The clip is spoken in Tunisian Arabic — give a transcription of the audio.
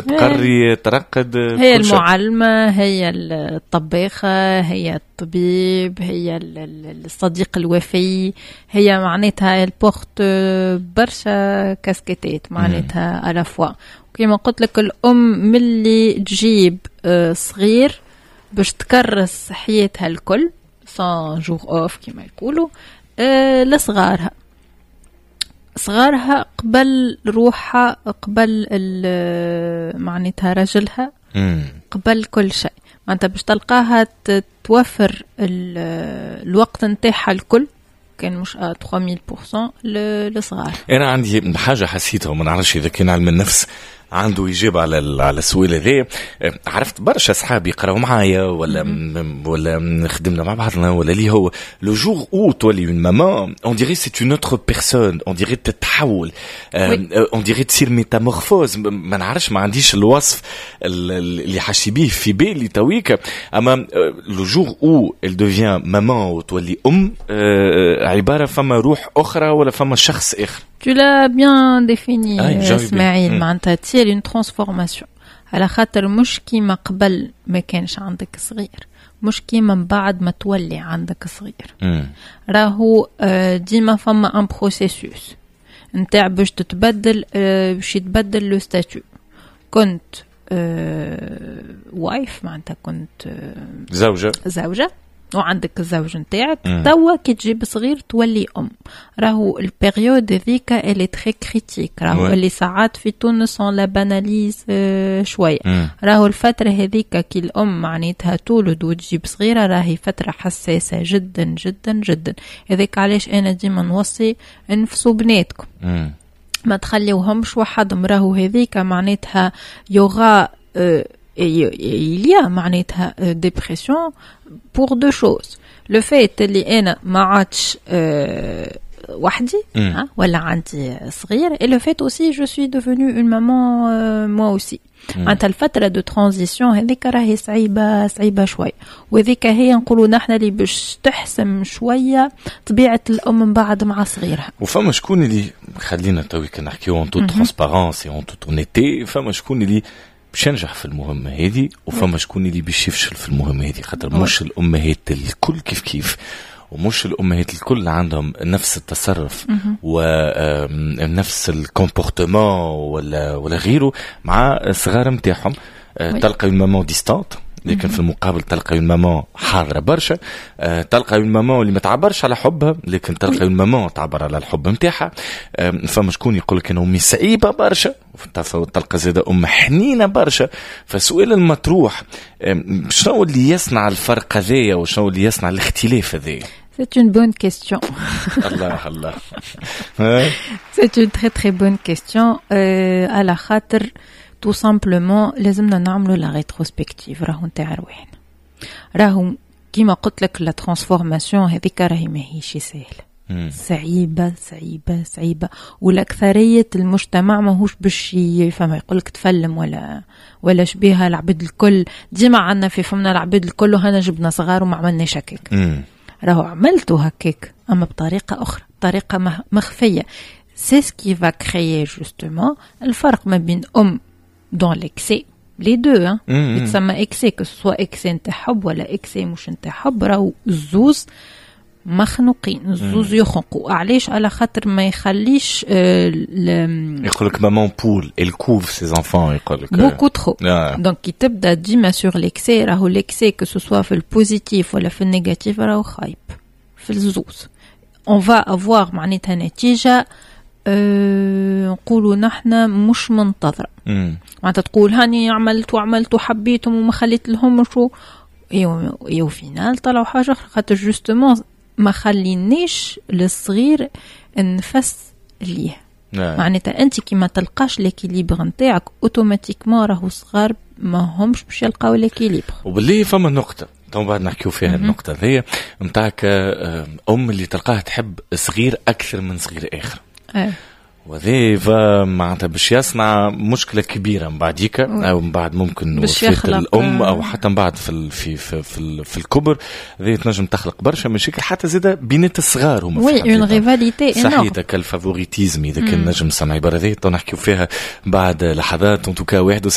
تقري، ترقد. هي المعلمة، هي الطباخة، هي الطبيب، هي الصديق الوفي، هي معناتها elle porte برشا كاسكيتات معناتها à la fois. كيما قلت لك، الأم ملي تجيب صغير باش تكرس حياتها الكل sans jour off كيما يقولوا لصغارها، صغارها قبل روحها، قبل معناتها رجلها، قبل كل شيء. معناتها باش تلقاها توفر الوقت نتاعها الكل، كان مش 3000% لصغار. انا عندي حاجة حسيتها وما نعرفش اذا كان علم النفس عنده إجابة على السؤال هذا. عرفت برشا أصحاب يقراو معايا ولا خدمنا مع بعضنا ولا اللي هو le jour où تولي une maman، on dirait c'est une autre personne، on dirait تتحول، on dirait تصير métamorphose. ما نعرفش، ما عنديش الوصف اللي حاشي بيه في بالي تويك، اما le jour où elle devient maman وتولي ام، عبارة فما روح اخرى ولا فما شخص اخر. Tu l'as bien défini اسماعيل، معناتها تصير une transformation، على خاطر مش كيما قبل ما كانش عندك صغير، مش كيما من بعد ما تولي عندك صغير. راهو ديما فما un processus نتاع باش تتبدل، باش يتبدل le statut. كنت wife، معناتها كنت زوجة. زوجة وعندك الزوج نتاعك. توا كي تجيب صغير تولي ام. راهو ال période هذيك elle est très critique. راهو اللي ساعات في تونس on la banalise شويه. راهو الفترة هذيك كي الام معناتها تولد وتجيب صغيره، راهي فترة حساسة جدا جدا جدا. هذاك علاش انا ديما نوصي انفسوا بناتكم، ما تخليوهمش وحدهم. راهو هذيك معناتها y aura il y a معناتها dépression pour deux choses: le fait اللي انا ما عادش وحدي ولا عندي صغير، et le fait aussi je suis devenue une maman moi aussi. معناتها الفترة de transition هذيك راهي صعيبة، صعيبة شوي، وهذيك هي نقولوا نحن اللي باش تحسم شوية طبيعة الأم من بعد مع صغيرها. وفما شكون اللي، خلينا تويك نحكيو en toute transparence et en toute honnêteté، فما شكون اللي باش ينجح في المهمة هذه وفما شكون اللي باش يفشل في المهمة هذه، خاطر مش الأمهات الكل كيف كيف، ومش الأمهات الكل عندهم نفس التصرف ونفس ال comportement ولا غيره مع الصغار نتاعهم. تلقى une maman distante، لكن في المقابل تلقى une maman حاضره برشا. تلقى une maman اللي ما تعبرش على حبها، لكن تلقى une maman تعبر على الحب نتاعها. فما شكون يقول لك انا امي صعيبة برشا، تلقى زاده ام حنينه برشا. فالسؤال المطروح، شنو اللي يصنع الفرق هذايا وشنو اللي يصنع الاختلاف هذايا؟ C'est une bonne question. الله الله. C'est une très très bonne question. على خاطر tout simplement لازمنا نعملوا la rétrospective راهو نتاع رواحنا. راهو كيما قلت لك، la transformation هذيك راهي ماهيش سهله، صعيبة صعيبة صعيبة، والأكثرية المجتمع ماهوش باش يفهم، يقول لك تفلم ولا شبيها العباد الكل. ديما عندنا في فمنا العباد الكل وهنا جبنا صغار وما عملناش هكاك. راهو عملتوا هكاك أما بطريقة أخرى، بطريقة مخفية. c'est ce qui va créer justement الفرق ما بين أم dans l'excès، les deux hein، يتسمى excès، que ce soit excès نتاع حب ولا excès مش نتاع حب، راهو الزوز مخنوقين، الزوز يخنقوا. علاش؟ على خاطر ما يخليش يقول لك maman poule، elle couve ses enfants يقول لك. beaucoup trop. donc كي تبدا ديما sur l'excès، راهو l'excès que ce soit في ال positif ولا في ال négatif راهو خايب في الزوز. on va avoir معناتها نتيجة نقولوا نحن مش منتظرة. معناتها تقول هاني عملت وعملت وحبيتهم وما خليت لهم شو، et au final طلعوا حاجة أخرى، خاطر justement ما خلينيش للصغير النفس ليه. معناتها انت كي ما تلقاش l'équilibre نتاعك، automatiquement راهو صغار ما همش باش يلقاو l'équilibre. وباللي فما نقطة تو بعد نحكيو فيها، النقطة ذي نتاعك، أم اللي تلقاها تحب صغير أكثر من صغير آخر. وهذا معناتها باش يصنع مشكلة كبيرة من بعديك، او من بعد ممكن وفاه الام، او حتى من بعد في في في في, في الكبر. هذه تنجم تخلق برشا مشاكل، حتى زاده بينات الصغار هما. oui، une rivalité. صحيح، ال favoritisme اذا كان نجم نسمع عبارة هذه، نحكيو فيها بعد لحظات. en tout cas 71.